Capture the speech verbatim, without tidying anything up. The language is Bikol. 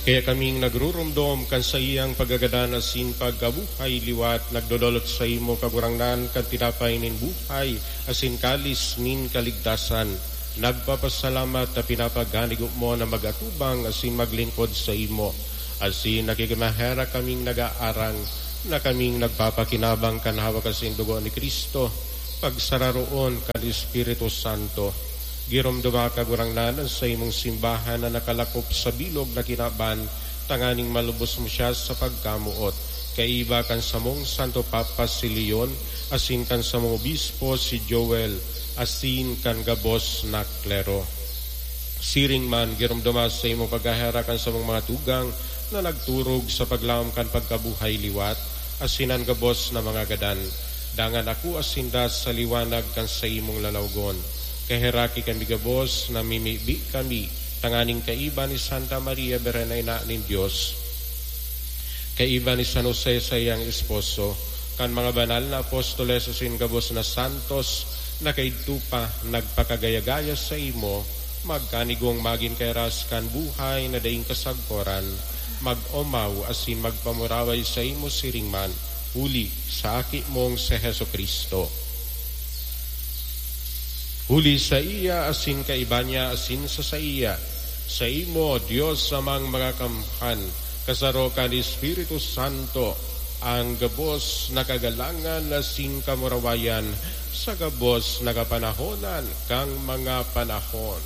Kaya kaming nagrurumdom kan saiyang pagagadan asin pagkabuhay liwat, nagdodolot saimo, Kagurangnan, kan tinapay nin buhay asin kalis nin kaligtasan. Nagpapasalamat ta pinapagkanigo mo na mag-atubang asin maglingkod saimo. Asin nakikimaherak kaming nag-aarang na kaming nagpapakinabang kan hawak asin dugo ni Cristo, pagsararoon kan Espiritu Santo. Giromdoma, Kagurangnan, an saimong simbahan na nakalakop sa bilog na kinaban, tanganing malubos mo siya sa pagkamoot. Kaiba kan samong Santo Papa si Leon, asin kan samong obispo si Joel, asin kan gabos na klero. Siring man, giromdoma sa imong pagkaherak an samong mga tugang na nagturog sa paglaom kan pagkabuhay liwat, asin an gabos na mga gadan. Dangan akoa sinda sa liwanag kan saimong lalawgon. Kaheraki kami gabos, namimibi kami, tanganing kaiba ni Santa Maria, Birhen na Ina nin Dios, kaiba ni San Jose, saiyang esposo, kan mga banal na apostoles asin gabos na santos na kaidto pa nagpakagaya-gaya saimo, magkanigong magin kairas kan buhay na daing kasagkoran, mag-omaw asin magpamuraway saimo siring man, huli sa Aki mong si Jesu-Cristo. Huli saiya, asin kaiba niya, asin sa saiya, saimo, Dios Amang mga kamhan, kasaro kan Espiritu Santo, ang gabos na kagalangan asin kamurawayan sa gabos na kapanahonan kan mga panahon.